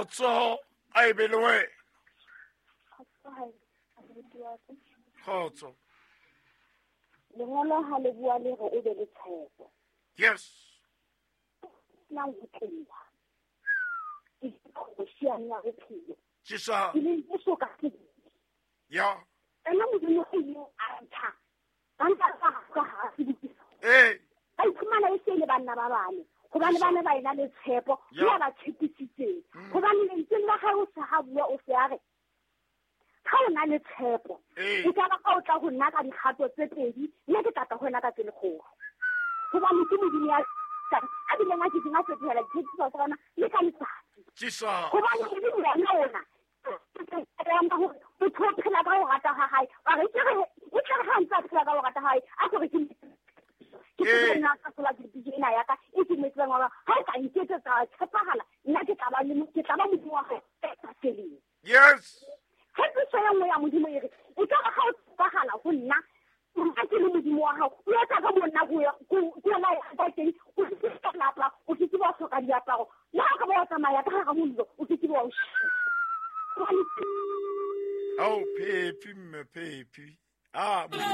Kgotso a e be le wena. Kgotso. Lengolo ha le bua le re o be le tshepo. Yes. Nang ho tloha. Ke qhobosheane ya bophelo. Jesus. Ke leng Jesu ka sebele. Ya. Ena Modimo o ileng a ntsha. Ba nka ka ka ha sebokisa. Eh. Ba iphumana e se le banna ba bane. Hobane ba ne ba ena le tshepo, Ya. ya ba tshepisitseng. Hobane lentsweng la hae o se ha bua o se a re, ha o na le tshepo, Ee. e ka ba ka o tla ho nna ka dikgato tse pedi, nna ke tla tla ho wena ka tse lekgolo. Hobane ke Modimo ya tlang, a bileng a kekeng a fetohela ditshepiso tsa rona le ka letsatsi. Jesus. Hobane Modimo yena ona, ka hore motho o phela ka ho rata ha hae. Wa re, e tle re ha ntse a phela ka ho rata ha hae, a ko re ke ke Ee. tsebe nna ka sola ke ena ya ka, e ke mo tsebang wa ba, ha o ka nketsetsa wa tshepahala, nna ke tla ba le mo-, ke tla ba Modimo wa hao e sa feleng. Yes. Tshepiso e nngwe ya Modimo e re, e ka ba ha o tshepahala ho nna, nna ke le Modimo wa hao, o etsa ka bo nna ko ya la ya ka teng, o ke ke ka lapa, o ke ke wa hloka diaparo, le ha o ka ba wa tsamaya ka hara mollo, o ke ke wa o shisa. Hobane Ao, Phephi, mme Phephi. Ah, Modimo.